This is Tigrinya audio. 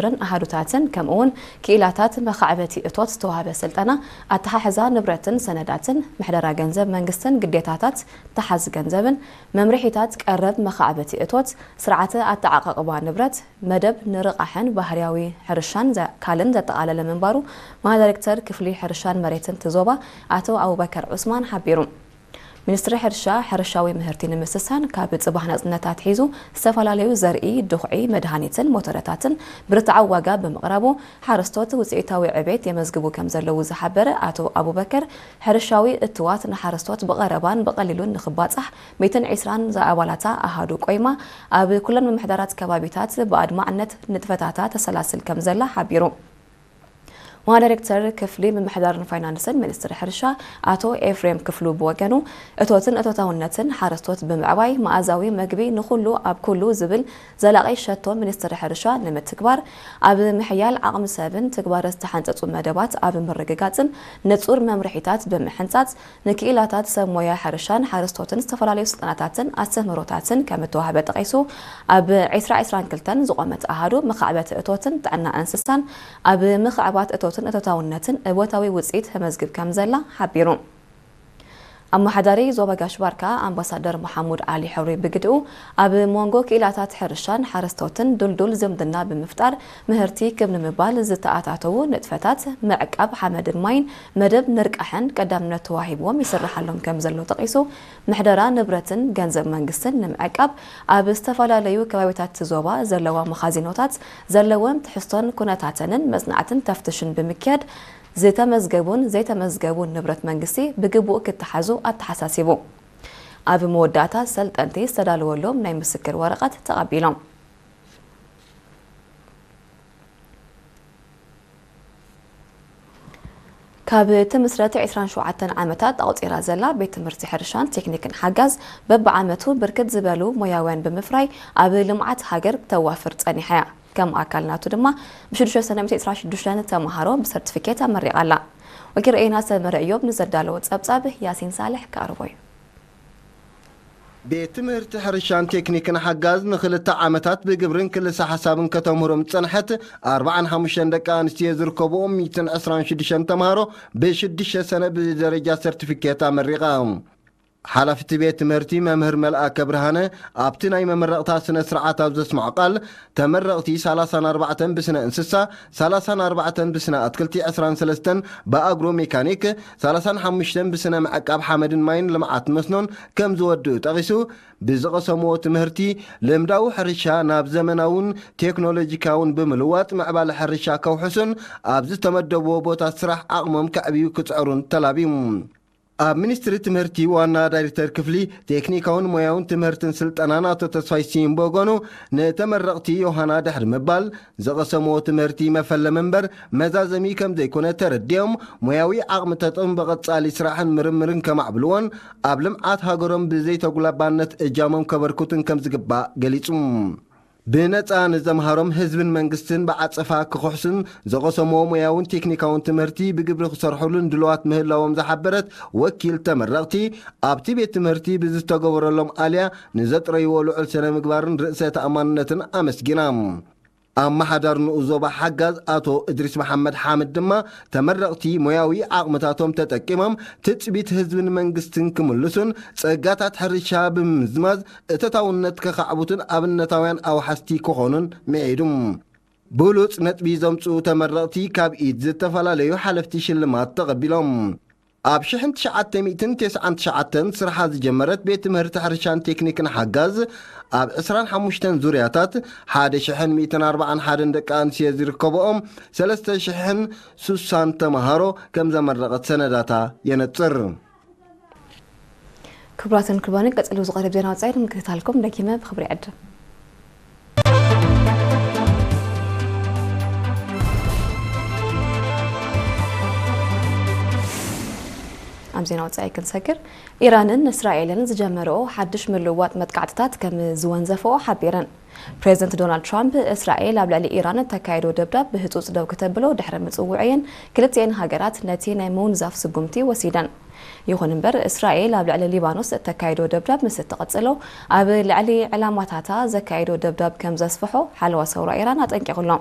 ርን ኣሃዱታትን ከምኡ እውን ክኢላታት መኻዕበቲ እቶት ዝተዋህበ ስልጠና ኣተሓሕዛ ንብረትን ሰነዳትን፣ ምሕደራ ገንዘብ መንግስትን ግዴታታት ተሓዚ ገንዘብን፣ መምርሒታት ቀረብ መኻዕበቲ እቶት፣ ስርዓተ ኣተዓቓቕባ ንብረት፣ መደብ ንርቓሕን ባህርያዊ ሕርሻን ዘ- ካልእን ዘጠቓለለ ምንባሩ፣ ማዳይሬክተር ክፍሊ ሕርሻን መሬትን እቲ ዞባ ኣቶ ኣቡበከር ዑስማን ሓቢሩ። ሚኒስትሪ ሕርሻ፣ ሕርሻዊ ምህርቲ ንምስሳን ካብ ጽባሕ ናጽነት ኣትሒዙ ዝተፈላለዩ ዘርኢ፣ ድኹዒ፣ መድሃኒትን ሞተረታትን ብርትዓዊ ዋጋ ብምቕራቡ፣ ሓረስቶት ውጽኢታዊ ዕቤት የመዝግቡ ከም ዘለዉ ዝሓበረ ኣቶ ኣቡበከር፣ ሕርሻዊ እትዋት ንሓረስቶት ብቐረባን ብቐሊሉን ንኽባጻሕ ሚእትን ዕስራን ዝኣባላታ ኣሃዱ ቆይማ ኣብ ኩለን ምምሕዳራት ከባቢታት ብኣድማዕነት ንጥፈታታ ተሰላስል ከም ዘላ ሓቢሩ። ዋና ዳይሬክተር ክፍሊ ምምሕዳርን ፋይናንስን ሚኒስትሪ ሕርሻ ኣቶ ኤፍሬም ክፍሉ ብወገኑ፣ እቶትን እቶታውነትን ሓረስቶት ብምዕባይ መኣዛዊ መግቢ ንኹሉ ኣብ ኩሉ ዝብል ዘላቒ ሸቶ ሚኒስትሪ ሕርሻ ንምትግባር፣ ኣብ ምሕያል ዓቕሚ ሰብን ትግባረ ዝተሓንጸጹ መደባት ኣብ ምርግጋጽን ንጹር መምርሒታት ብምሕንጻጽ፣ ንክኢላታት ሰብ ሞያ ሕርሻን ሓረስቶትን ዝተፈላለዩ ስልጠናታትን ኣስተምህሮታትን ከም እተዋህበ ጠቒሱ፣ ኣብ ዕስራ ዕስራን ክልተን ዝቖመት ኣሃዱ መኻዕበቲ እቶትን ጥዕና እንስሳን ኣብ ምኽዕባት እቶትን እቶታውነትን እወታዊ ውጽኢት ተመዝግብ ከም ዘላ ሓቢሩ። ኣመሓዳሪ ዞባ ጋሽ ባርካ ኣምባሳደር መሓሙድ ዓሊ ሕብሪ ብግድኡ፣ ኣብ መንጎ ክኢላታት ሕርሻን ሓረስቶትን ድልዱል ዝምድና ብምፍጣር፣ ምህርቲ ክብ ንምባል ዝተኣታተዉ ንጥፈታት ምዕቃብ ሓመድን ማይን መደብ ንርቃሕን ቀዳምነት ተዋሂብዎም ይስርሓሎም ከም ዘሎ ጠቒሱ፣ ምሕደራ ንብረትን ገንዘብ መንግስትን ንምዕቃብ ኣብ ዝተፈላለዩ ከባቢታት እቲ ዞባ ዘለዋ መኻዚኖታት ዘለወን ትሕዝቶን ኩነታተንን መጽናዕትን ተፍትሽን ብምክያድ፣ ዝተመዝገቡን ዘይተመዝገቡን ንብረት መንግስቲ ብግቡእ ክተሓዙ ኣተሓሳሲቡ። ኣብ መወዳእታ ሰልጠንቲ ዝተዳለወሎም ናይ ምስክር ወረቐት ተቐቢሎም። ካብ ትምስረት ዕስራን ሸውዓተን ዓመታት ኣቑጺራ ዘላ ቤት ትምህርቲ ሕርሻን ቴክኒክን ሓጋዝ በብዓመቱ ብርክት ዝበሉ ሞያውያን ብምፍራይ ኣብ ልምዓት ሃገር ክተዋፍር ጸኒሓ እያ። ከም ኣካል ናቱ ድማ ብሽዱሽተ ሰነ ሚእቲ ዕስራን ሽዱሽተን ተምሃሮ ብሰርቲፊኬት ኣመሪቓ ኣላ። ወኪል ርኤና ሰመረ እዮብ ንዘዳለዎ ጸብጻብ ያሲን ሳልሕ ክኣርቦ እዩ። ቤት ትምህርቲ ሕርሻን ቴክኒክን ሓጋዝ ንኽልተ ዓመታት ብግብርን ክልሰ ሓሳብን ከተምህሮም ዝጸንሐት ኣርባዓን ሓሙሽተን ደቂ ኣንስትዮ ዝርከብኦም ሚእትን ዕስራን ሽዱሽተን ተምሃሮ ብሽዱሽተ ሰነ ብደረጃ ሰርቲፊኬት ኣመሪቓ። ሓላፊ እቲ ቤት ትምህርቲ መምህር መልኣከ ብርሃነ ኣብቲ ናይ መመረቕታ ስነ ስርዓት ኣብ ዘስምዖ ቃል፣ ተመረቕቲ ሰላሳን ኣርባዕተን ብስነ እንስሳ፣ ሰላሳን ኣርባዕተን ብስነ ኣትክልቲ፣ ዕስራን ሰለስተን ብኣግሮ ሜካኒክ፣ ሰላሳን ሓሙሽተን ብስነ ምዕቃብ ሓመድን ማይን ልምዓት መስኖን ከም ዝወድኡ ጠቒሱ፣ ብዝቐሰምዎ ትምህርቲ ልምዳዊ ሕርሻ ናብ ዘመናውን ቴክኖሎጂካውን ብምልዋጥ ምዕባለ ሕርሻ ከውሕሱን ኣብ ዝተመደብዎ ቦታ ስራሕ ዓቕሞም ከዕብዩ ክጽዕሩን ተላብዩ። ኣብ ሚኒስትሪ ትምህርቲ ዋና ዳይሬክተር ክፍሊ ቴክኒካውን ሞያውን ትምህርትን ስልጠናን ኣቶ ተስፋይ ስዩም ብወገኑ፣ ንተመረቕቲ ዮሃና ድሕሪ ምባል፣ ዝቐሰምዎ ትምህርቲ መፈለሚ እምበር መዛዘሚ ከም ዘይኮነ ተረዲኦም፣ ሞያዊ ዓቕሚ ተጠቕሙ ብቐጻሊ ስራሕን ምርምርን ከማዕብልዎን ኣብ ልምዓት ሃገሮም ብዘይተጉላባነት እጃሞም ከበርክቱን ከም ዝግባእ ገሊጹ። ብነጻ ንዘምሃሮም ህዝብን መንግስትን ብዓጸፋ ክኽሕሱን፣ ዝቐሰምዎ ሞያውን ቴክኒካውን ትምህርቲ ብግብሪ ክሰርሑሉን ድልዋት ምህላዎም ዝሓበረት ወኪል ተመረቕቲ፣ ኣብቲ ቤት ትምህርቲ ብዝተገበረሎም ኣልያ ንዘጥረይዎ ልዑል ስነ ምግባርን ርእሰ ተኣማንነትን ኣመስጊና። ኣመሓዳሪ ንኡስ ዞባ ሓጋዝ ኣቶ እድሪስ መሓመድ ሓምድ ድማ፣ ተመረቕቲ ሞያዊ ዓቕምታቶም ተጠቂሞም ትጽቢት ህዝብን መንግስትን ክምልሱን፣ ጸጋታት ሕርሻ ብምምዝማዝ እቶታውነት ከኻዕብቱን ኣብነታውያን ኣውሓስቲ ክኾኑን ምዒዱ። ብሉጽ ነጥቢ ዘምጽኡ ተመረቕቲ ካብ ኢድ ዝተፈላለዩ ሓለፍቲ ሽልማት ተቐቢሎም። ኣብ ሽሕን ትሽዓተ ሚእትን ተስዓን ትሽዓተን ስርሓ ዝጀመረት ቤት ትምህርቲ ሕርሻን ቴክኒክን ሓጋዝ፣ ኣብ ዕስራን ሓሙሽተን ዙርያታት ሓደ ሽሕን ሚእትን ኣርባዓን ሓደን ደቂ ኣንስትዮ ዝርከብኦም ሰለስተ ሽሕን ሱሳን ተምሃሮ ከም ዘመረቐት ሰነዳታ የነጽር። ክቡራትን ክቡራንን፣ ቀጺሉ ዝቐርብ ዜና ወጻኢ ንምክትታልኩም ደጊመ ብኽብሪ ይዕድም። ኣብ ዜና ወጻኢ ክንሰግር፣ ኢራንን እስራኤልን ዝጀመረኦ ሓድሽ ምልውዋጥ መጥቃዕትታት ከም ዝወንዘፈኦ ሓቢረን። ፕሬዚደንት ዶናልድ ትራምፕ፣ እስራኤል ኣብ ልዕሊ ኢራን እተካየዶ ደብዳብ ብህጹጽ ደው ክተብሎ ድሕሪ ምጽውዐየን፣ ክልቲኤን ሃገራት ነቲ ናይ ምውንዛፍ ስጉምቲ ወሲደን። ይኹን እምበር፣ እስራኤል ኣብ ልዕሊ ሊባኖስ እተካይዶ ደብዳብ ምስ እትቕጽሎ፣ ኣብ ልዕሊ ዕላማታታ ዘካይዶ ደብዳብ ከም ዘስፍሖ ሓለዋ ሰውራ ኢራን ኣጠንቂቑ ኣሎ።